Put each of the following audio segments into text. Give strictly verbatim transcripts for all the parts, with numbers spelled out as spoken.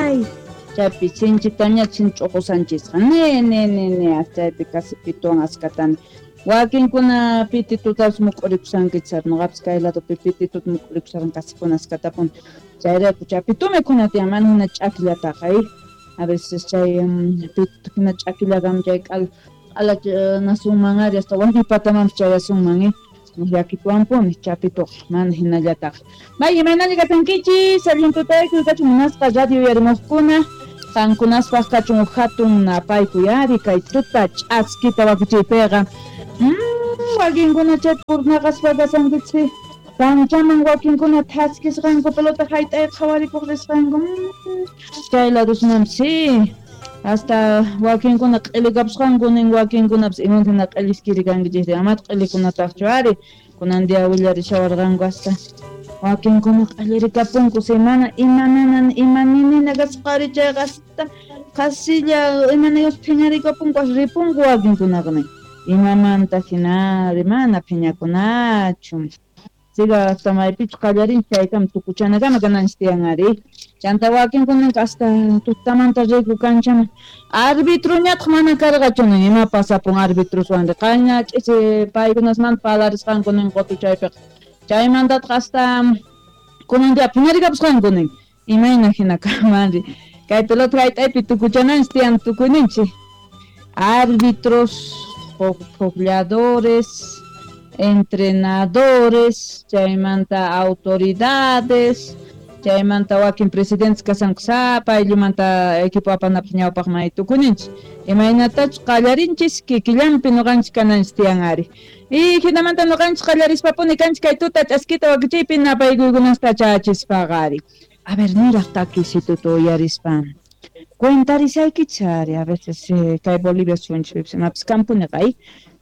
Ay, chaypi sinchitaña chinch'uqusanchisqa. Ne, ne, ne, ne, chaypi casi pituwan askatani. Wakinkuna pititutapas muk'urikushankichis, noqapis kay ladopi pitituta muk'urikusharan casi kunaskatapuni. Chayrayku chapitu mikhuna tiyan, mana hina ch'akillataqa, eh. A veces chay pititu hina ch'akillakam chay k'ala q'ala nasunman ari hasta wañuypatamanpis chayasunman, eh. Llakituwanpuni chapituqa, mana hinallataqa. May imaynalla kasankichis, allin tutaykuy kachun munasqa radio uyarimuqkuna. Qankunaspaq kachun hatun napaykuy ari kay tuta ch'askita wakichiypiqa. Mm, wakinkuna chay purnaqaspa kasankichis, kanchaman wakinkuna thaskisqanku pelota hayt'ay qhawarikuq risqanku. Mm, chay ladusman sí. Hasta wakinkuna q'ilikapusqanku nin wakinkunapas imantina q'iliskiri kankichis, amata q'ilikunataqchu ari kunan día willarishawarqanku hasta wakinkuna q'illirikapunku semana imanana imaninina kasqari chayqa hasta qasilla imanayus phiñarikapunku as ripunku wakinkunaqa nin imamanta hinari mana phiñakunachu. Siga hasta maypichu qallarinchik chaykama tukuchanakama kananchis tiyan ari. Chanta wakinkunanqa hasta tutamanta riku kanchaman. Arbitruñataq mana karqachu nin ima pasapun arbitruswan qaña ch'isi paykunasmanta parlarisqanku nin qutu chaypiqa. Chaymantataq hasta kunan día phiñarikapusqanku nin imayna hina kamanri. Kay pelota hayt'aypi tukuchananchis tiyan tukuyninchik. Árbitros, jugadores, entrenadores, chaymanta autoridades, chaymanta wakin presidentes kasanku sapa ayllumanta equipo apanapaq ñawpaq may tukuninchik. Imaynatachus qallarinchis kikillanpi ñuqanchik kananchis tiyan ari. Y hinamanta ñuqanchik qallarispapuni kanchik kay tuta ch'askita wakichiypi napaykuykunasta chachispaqa ari. A ver, niraq takisituta uyarispa. Cuentarisaykichis ari, a veces eh, kay Bolivia suyunchikpipis imapis kampuniqa, eh.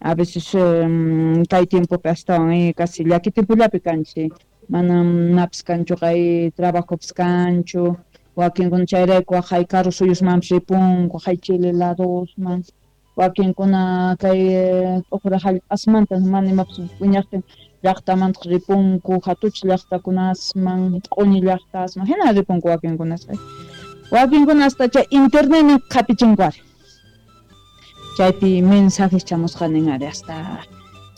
A veces um, kay tiempopi astawan eh, casi llaki tiempollapi kanchik. Manam napis kanchu kay trabajopis kanchu. Wakinkuna chayrayku waqay karu suyusmanpis ripunku, waqay Chile ladosman. Wakinkuna kay t'uqra hallp'asmanta mana imapis wiñaqtin llaqtamantaq ripunku, hatuch llaqtakunasman, q'uñi llaqtasman, hina ripunku wakinkunas. Wakinkuna hasta chay internetnin qhapichinku ari. Chaypi mensajes chamusqanin ari hasta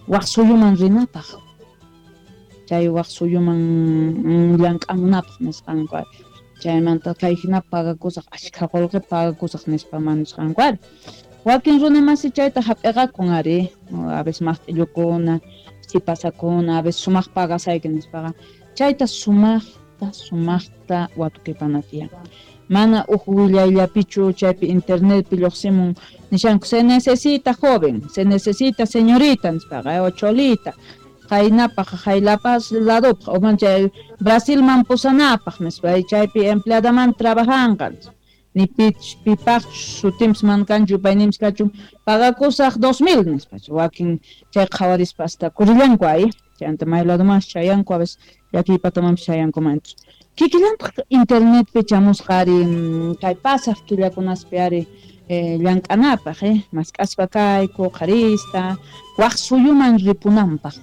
waq suyuman rinapaq. Chay waq suyuman llank'amunapaq nisqanku ari. Chaymanta kay hina pagakusaq, ashkha qullqi pagakusaq nispa manisqanku ari. Wakin runamasi chayta hap'iqakun ari, a veces maqt'illukuna, sipasakuna, a veces sumaq pagasayki nispaqa. Chayta sumaqta, sumaqta watukipana tiyan. Mana uj willayllapichu chaypi internetpi lluqsimun nishanku se necesita joven, se necesita señorita nispaqa, o cholita, qaynapaq, qaylapas ladopaq, o man chay Brasilman pusanapaq nispa, chaypi empleadaman trabajanqa. Ni pich, pipaq sutinpis mana kanchu, payninpis kachun, pagakusaq dos mil nispa, wakin chay qhawarispa hasta kurillanku ay, chayanta may ladomanpis chayanku, a veces llakiypatamanpis chayankumanchu. Kikillantaq internetpi chamusqa ari kay pasaq killakunaspi ari eh, llank'anapaq, eh, mask'aspa kayku qharista, waq suyuman ripunanpaq.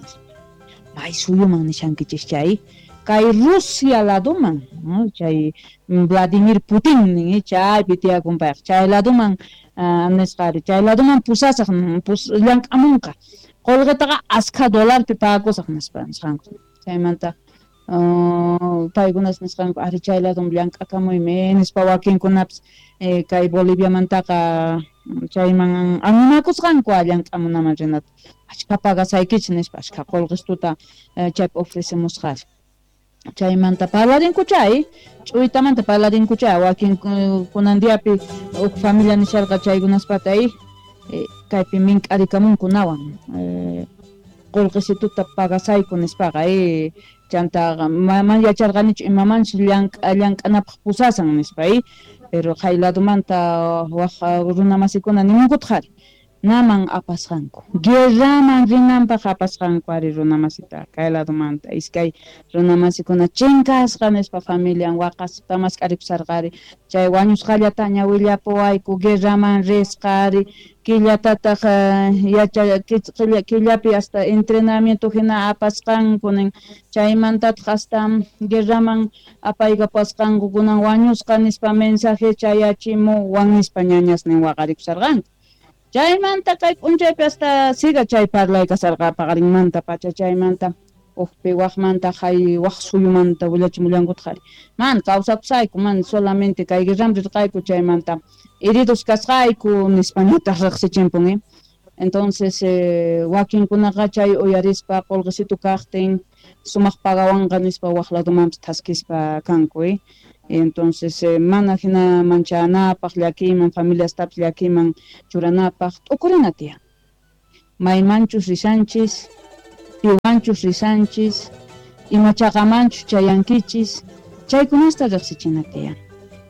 May suyuman nishankichis chay, kay Rusia ladoman, no? Chay Vladimir Putin nin, chaypi tiyakun payqa, chay ladoman uh, nisqa ari, chay ladoman pusasaq, pus, llank'amunqa. Qullqitaqa askha dolarpi pagakusaq nispa nisqanku. Chaymanta Uh, paykunas nisqanku ari chay ladom llank'akamuymi nispa wakinkunapis eh, kay Boliviamantaqa chayman animakusqanku llank'amunaman rinata. Achka pagasaykichis nispa, achka qullqistuta eh, chaypi ofrecemusqari. Chaymanta parlarinku chay, ch'uytamanta parlarinku chay, wakin kunan diapi huk familia nisharqa chaykunaspata eh, kaypi mink'arikamunkunawan eh, qullqisituta pagasayku nispaqa eh, chantaqa mana yacharqanichu imamanchus llank'a llank'anapaq pusasan nispa eh, pero kay ladomanta waq runamasikuna nimunkutaq ari. naman apasqanku guerraman rinanpaq apasqanku ari runamasita kay ladomanta iskay runamasikuna chinkasqa nispa familian waqaspa mask'arikusarqari chay wañusqallataña willapuwayku guerraman risqa ari killatataq yacha killapi hasta entrenamiento hina apasqanku nin chaymantataq hasta guerraman apaykapasqanku kunan wañusqa nispa mensaje chayachimuwan nispa ñañasnin waqarikusarqanku chaymanta kay p'unchaypi hasta siga chay parlay kasarqa paqarinmanta pacha chaymanta ujpi waqmanta hay waq suyumanta willachimullankutaq ari mana kawsakusayku mana solamente kay guerraman rirqayku chaymanta heridos kasqayku nispañataq riqsichimpun eh entonces eh, wakinkunaqa chay uyarispa qulqisitu kaqtin sumaq pagawanqa nispa waq ladomanpis thaskispa kanku eh entonces eh, mana hina manchanapaq llakiyman familiastapis llakiyman churanapaq t'ukurina tiyan maymanchus rishanchis piwanchus rishanchis imachaqamanchus chayankichis chaykunasta riqsichina tiyan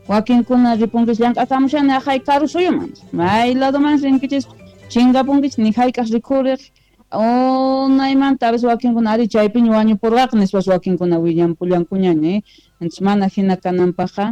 wakinkuna ripunkis llank'akamushani aqhay karu suyuman may ladoman rinkichis chinkapunkichis ni hayk'aq rikhuriq unaymanta a veces wakinkuna ari chaypiña wañupurqaq nispas wakinkuna willanpullankuñaña eh entonces mana hina kananpaqqa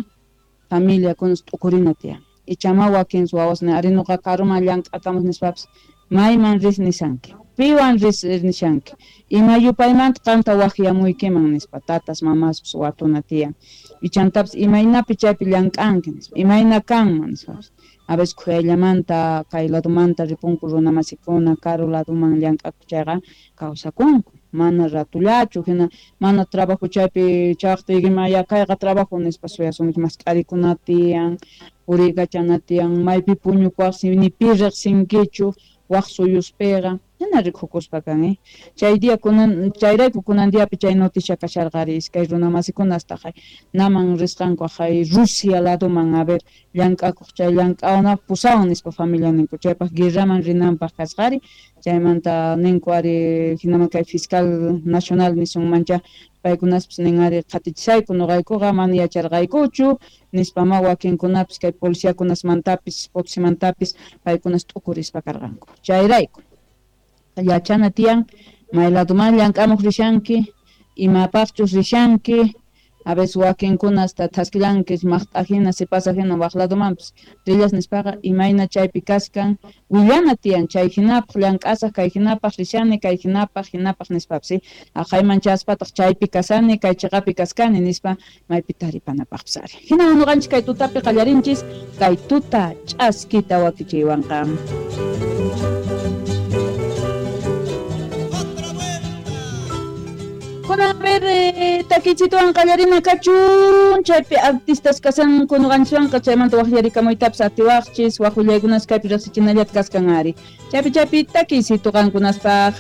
familiakunas t'ukurina tiyan ichama wakin wawasnin ari nuqa karuman llank'akamus nispapis mayman ris nishanki piwan ris nishanki ima yupaymanta qanta waqyamuykiman nispa tatas mamaspis watuna tiyan ichantapis imaynapi chaypi llank'anki nispa imayna kanman nispapis a veces khuyayllamanta kay ladomanta ripunku runamasikuna karu ladoman llank'akuq chayqa kawsakunku mana ratullachu hina mana trabajo chaypi chaqtiykima ya kayqa trabajo nispa suyasunki mask'arikuna tiyan puriykachana tiyan maypi puñukuwaqsi ni pi riqsinkichu waq suyuspiqa hina rikukuspa kan eh chay día kunan chayrayku kunan diapi chay noticia kasharqari iskay runamasikuna hasta hay naman risqanku hay Rusia ladoman a ver llank'akuq chay llank'awanapaq pusawan nispa familia ninku chaypaq guerraman rinanpaq kasqari chaymanta ninku ari hinaman kay fiscal nacional nisunmancha paykunaspis nin ari qhatichisayku nuqaykuqa mana yacharqaykuchu nispama wakinkunapis kay policiakunasmantapis Potosímantapis paykunas t'ukurispa karqanku chayrayku yachana tiyan may ladoman llank'amuq rishanki imapaqchus rishanki a veces wakinkuna hasta thaskillankis maqt'ajina sipasajina waq ladomanpis rillas nispaqa imayna chaypi kaskan willana tiyan chay hinapaq llank'asaq kay hinapaq rishani kay hinapaq hinapaq nispapis aqhayman chaspataq chaypi kasani kay chiqapi kaskani nispa maypi taripanapaqpis ari hina nuqanchis kay tutapi qallarinchis kay tuta ch'askita wakichiywanqa. Kunan a ver eh, takichituwan qallarina kachun chaypi artistas kasanku nuqanchiswanqa chaymanta waqllarikamuytapis atiwaqchis waq willaykunas kaypi riqsichinallata kaskan ari chaypi chaypi takiysitu qankunaspaq.